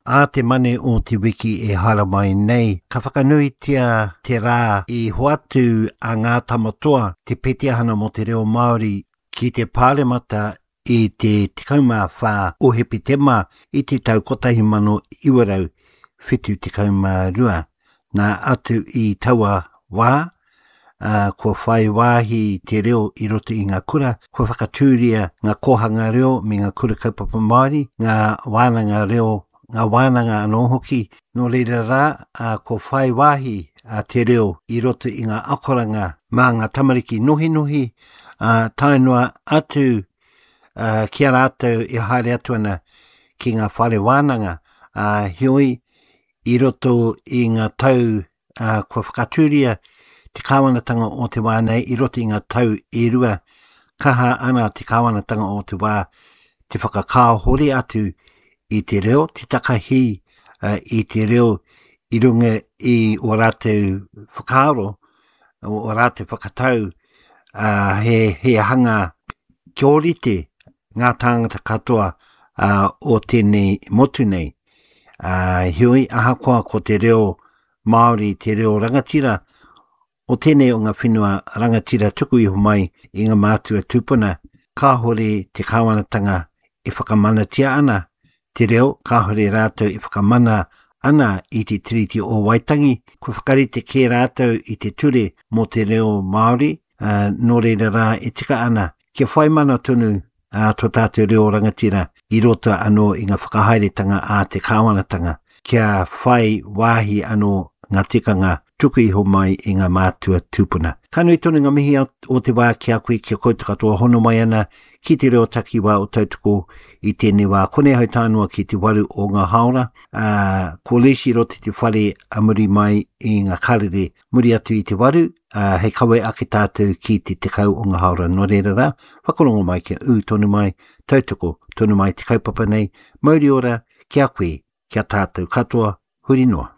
Ā te Mane o te wiki e haere mai nei, ka whakanuitia te rā i hoatu a Ngā Tamatoa te Petihana mō te Reo Māori ki te Pāremata i te 14 o Hepetema i te tau 1972. Nā atu i taua wā, ā, kua whai wāhi te reo i roto i ngā kura, kua whakatūria ngā kōhanga reo me ngā kura kaupapa Māori, ngā wānanga reo, ngā wānanga anō hoki. Nō reira rā, ā, kua whai wāhi a te reo i roto i ngā akoranga mā ngā tamariki nohinohi, ā, tae noa atu ā, ki a rātou e haere atu ana ki ngā whare wānanga, ā, heoi, i roto i ngā tau ā, kua whakatūria te kāwanatanga o te wā nei i roto i ngā tau e rua, kaha ana te kāwanatanga o te wā te whakakāhore atu i te reo, te takahi uh, i te reo i runga i o rātou whakaaro, o rātou whakatau, uh, he, he hanga kia ōrite ngā tāngata katoa uh, o tēnei motu nei. Uh, heoi, ahakoa ko te reo Māori, te reo rangatira, o tēnei o ngā whenua rangatira tuku iho mai i ngā mātua tūpuna, kāhore te kāwanatanga e whakamanatia ana te reo, kāhore rātou e whakamana ana i te Tiriti o Waitangi, kua whakarite kē rātou i te ture mō te reo Māori, ā, nō reira rā e tika ana kia whai mana tonu ā tō tātou reo rangatira i roto anō i ngā whakahaeretanga a te kāwanatanga, kia whai wāhi anō ngā tikanga tuku iho mai i ngā mātua tūpuna. Ka nui tonu ngā mihi o te wā ki a koe, ki a koutou katoa hono mai ana ki te reo takiwā o Tautoko i tēnei wā. Konei hau tānoa ki te waru o ngā haora, ā, ko Leishy roto i te whare a muri mai i ngā karere muri atu i te waru, ā, hei kawe ake tātou ki te tekau o ngā haora. Nō reira rā, whakarongo mai kia ū tonu mai, tautoko tonu mai te kaupapa nei, mauri ora ki a koe, ki a tātou katoa, huri noa.